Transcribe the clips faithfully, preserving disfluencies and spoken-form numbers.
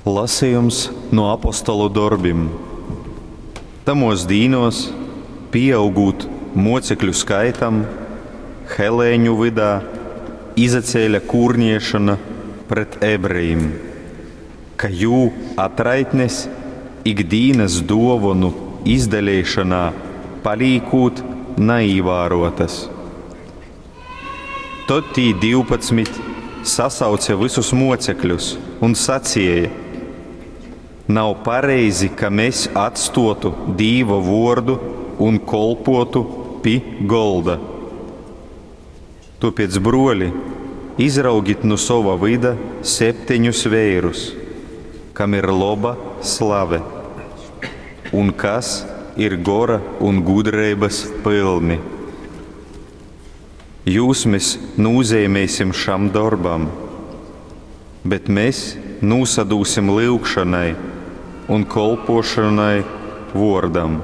Lasejums nu Apostolu dorbim. Tamuos dīnuos, pīaugūt muocekļu skaitam, helēņu vydā izacēle kūrniešona pret ebrejim, ka jū atraitnes ik dīnas duovonu izdaleišonā palīkūt naīvāruotas. Tod tī divpadsmit sasauce vysus muocekļus un saceja: Nav pareizi, ka mes atstuotu Dīva vuordu un kolpuotu pi golda. Tuopiec, bruoli, izraugit nu sova vyda septeņus veirus, kam ir loba slave un kas ir gora un gudreibys pylni. Jūs mes nūzeimēsim šam dorbam, bet mes nūsadūsim lyugšonai un kolpuošonai vuordam.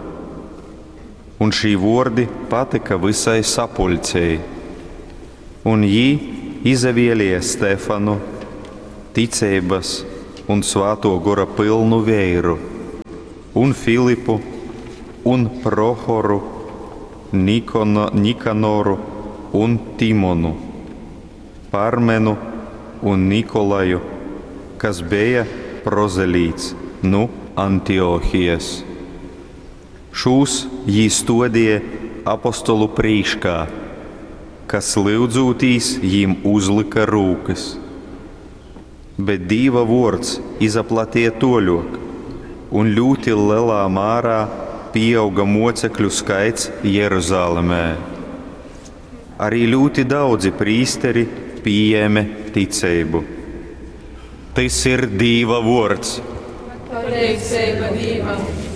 Un šī vuordi patyka vysai sapuļcei. Un jī izavielēja Stefanu, ticeibys un Svātuo Gora pylnu veiru, un Filipu, un Prohoru, Nikono, Nikanoru un Timonu, Parmenu un Nikolaju, kas beja prozelīts nu Antiohijas. Šūs jī stuodīja apostolu prīškā, kas lyudzūtīs jīm uzlyka rūkys. Bet Dīva vuords izaplateja tuoļuok, un ļūti lelā mārā pīauga muocekļu skaits Jeruzalemē. Arī ļūti daudzi prīsteri pījēme ticeibu. Tys ir Dīva vuords. Pateiceiba Dīvam!